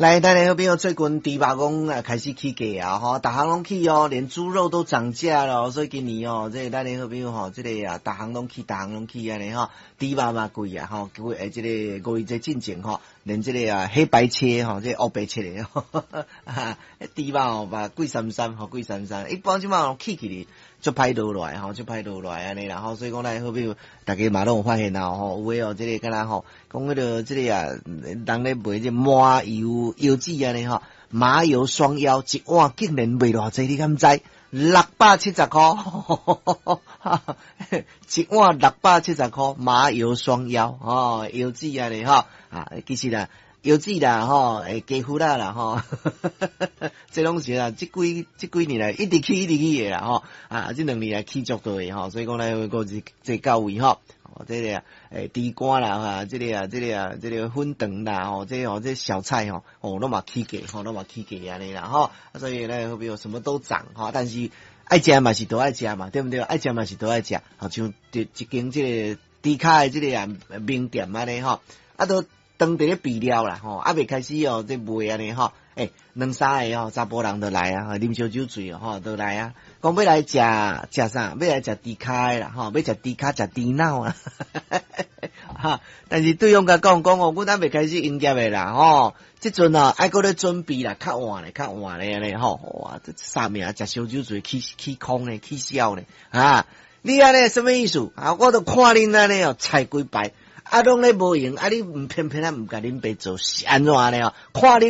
來，咱的好朋友最近豬肉講啊開始起價啊，吼，逐項攏起哦，連豬肉都漲價了，所以今年哦，這個咱的好朋友吼，這個啊，逐項攏起，逐項攏起按呢吼，豬肉嘛貴啊，吼，貴這個五一節進前吼，連這個啊黑白切吼，這個烏白切的，哈，豬肉哦嘛貴三三，吼貴三三，一般這馬起起哩，足歹落來吼，足歹落來按呢啦吼，所以講咱的好朋友，大家嘛攏有發現啊吼，有的哦，這個敢若吼，講彼個這個啊，人咧賣這麻油腰子按呢吼，麻油雙腰一碗竟然賣偌濟，你敢知？670箍，一碗六百七十箍，麻油雙腰吼，腰子按呢吼，啊，其實啦，腰子啦吼，會雞脯仔啦吼，這攏是啊，這幾年來一直起一直起的啦吼，啊，這兩年來起足多的吼，所以講來個是這到位吼。哦，這個豬肝啦，哈，這個啊，這個啊，這個粉腸啦，吼，這個哦，這小菜吼，哦，攏嘛起價，吼，攏嘛起價按呢啦，吼，所以咧，好比什麼都漲，吼，但是愛食嘛是都愛食嘛，對毋對？愛食嘛是都愛食，好像一間這個豬跤的這個啊名店按呢吼，啊都當佇咧備料啦，吼，猶未開始哦，這賣按呢吼，欸，兩三个吼，查埔人就來啊，啉燒酒醉哦，吼，就來啊，講欲來食食啥？欲來食豬跤的啦，吼，欲食豬跤食豬腦啊，哈！但是對方共講講哦，阮猶未開始營業的啦，吼，這陣啊愛閣咧準備啦，較晚咧，較晚咧按呢吼，哇！這啥物啊？食燒酒醉起起空咧，起痟咧，啊！你按呢啥物意思？啊，我都看恁按呢哦，菜幾擺，啊，攏咧無閒，啊，你毋偏偏啊毋共恁爸做，是按怎按呢哦？看恁。